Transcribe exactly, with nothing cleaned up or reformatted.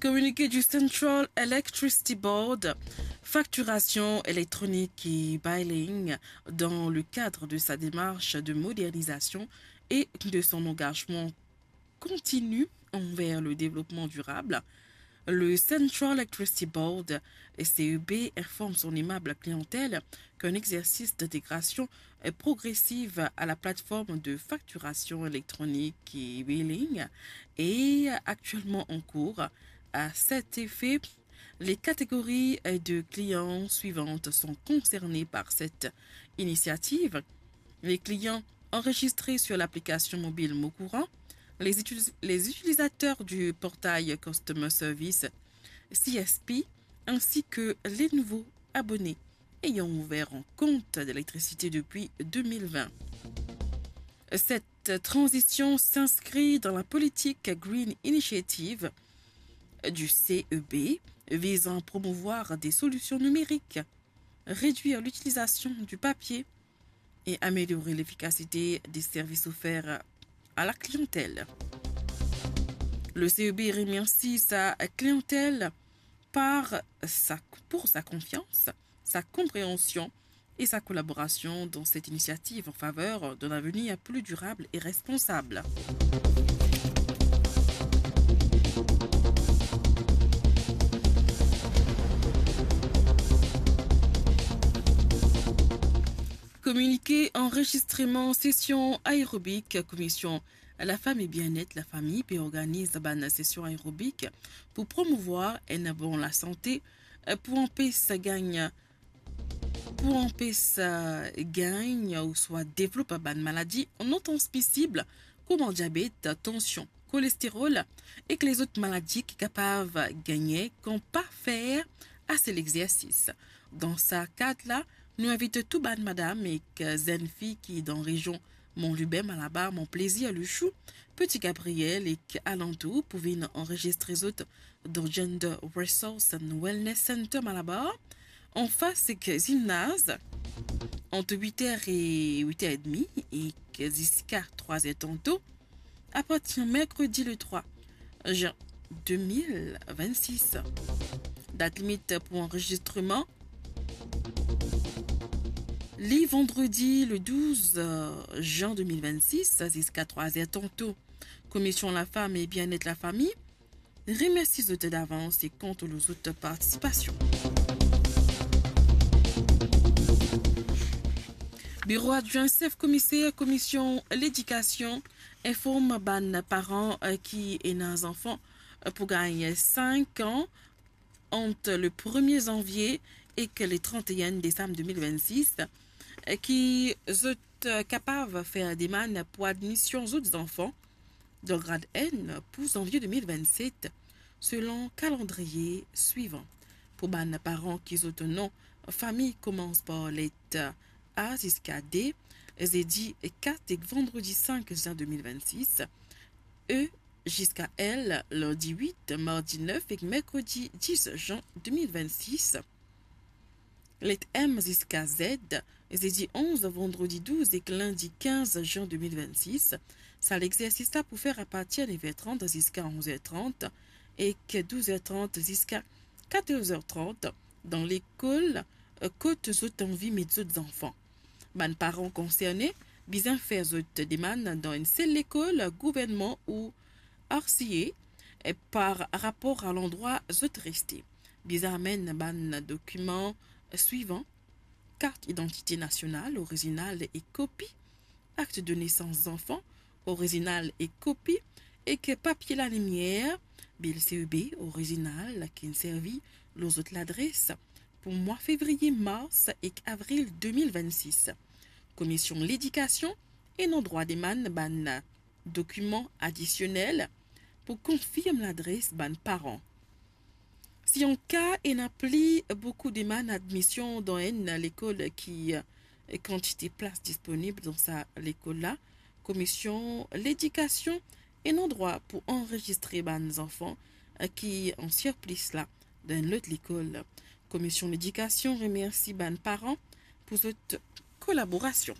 Communiqué du Central Electricity Board, facturation électronique et billing dans le cadre de sa démarche de modernisation et de son engagement continu envers le développement durable. Le Central Electricity Board, C E B, informe son aimable clientèle qu'un exercice d'intégration progressive à la plateforme de facturation électronique et billing est actuellement en cours. À cet effet, les catégories de clients suivantes sont concernées par cette initiative. Les clients enregistrés sur l'application mobile Mon Courant, les utilis-, les utilisateurs du portail Customer Service, C S P, ainsi que les nouveaux abonnés ayant ouvert un compte d'électricité depuis deux mille vingt. Cette transition s'inscrit dans la politique Green Initiative du C E B visant à promouvoir des solutions numériques, réduire l'utilisation du papier et améliorer l'efficacité des services offerts à la clientèle. Le C E B remercie sa clientèle par sa, pour sa confiance, sa compréhension et sa collaboration dans cette initiative en faveur d'un avenir plus durable et responsable. Communiqué, enregistrement, session aérobique, commission la fam e bien-et lafami pe organiz bann sesion aerobik pou promouvoir enn bon lasante, pou anpes gagn, pou anpes, eh, gagn ouswa devlop bann maladi non transmisib kouma diabet, tansion, kolesterol ek lezot maladi ki kapav gagne kan pa fer ase lexersis. Dan sa kad la, nou invit tou bann madam ek zenn fi ki dan rezion Mont Lubin, Malabar, Mont Plaisir, Le Chou, Petit Gabriel ek alantour pou vinn anrezistre zot dan Gender Resource and Wellness Center Malabar, anfas ek zimnaz, ant wit er e wit er edmi ek ziska trwa er tanto, apartir merkredi le trwa zin de mil vennsis. Dat limit pou anrezistreman, li vandredi le douz zin de mil vennsis ziska trwa er tanto. Komision Lafam e Bien-et Lafami remersi zot davans e kont lor zot partisipasion. Biro Adwin Sef Komiser Komision Ledikasion inform bann paran, eh, ki ena zanfan, eh, pou gagn sink an ant le premie zanvie ek le trant-e-enn desam de mil vennsis, eh, ki zot, eh, kapav fer demann pou admision zot zanfan dan grad enn pou zanvie de mil vennset, selon kalandriye swivan. Pou bann paran ki zot non fami koumans par let A ziska D, zedi kat ek vandredi sink zin de mil vennsis, E ziska L, landi wit, mardi nef ek merkredi dis zin de mil vennsis. Let M ziska Z, zedi onz, vandredi douz ek lindi kinz zin de mil vennsis. Sa lexersis la pou fer apartir nef er trant ziska onz er trant ek douz er trant ziska katorz er trant dan lekol, eh, kot zot anvi met zot zanfan. Bann paran konserne bizin fer zot demann dan enn sel lekol gouvernman ou R C A, eh, par rapor a landrwa zot reste. Bizin amenn bann dokiman swivan: kart idantite nasional orizinal ek kopi, akt de nesans zanfan orizinal ek kopi, ek papie lalimier, bil C E B orizinal ki inn servi lor zot ladres pou mwa fevriye, mars ek avril de mil vennsis. Komision Ledikasion ena drwa demann bann dokiman adisionel pou konfirm ladres bann paran. Si an ka ena pli boukou demann admision dan enn lekol ki, eh, kantite plas disponib dan sa lekol la, Komision Ledikasion ena drwa pou anrezistre bann zanfan, eh, ki an sirplis la dan enn lot lekol. Komision Ledikasion remersi bann paran pou zot kolaborasion.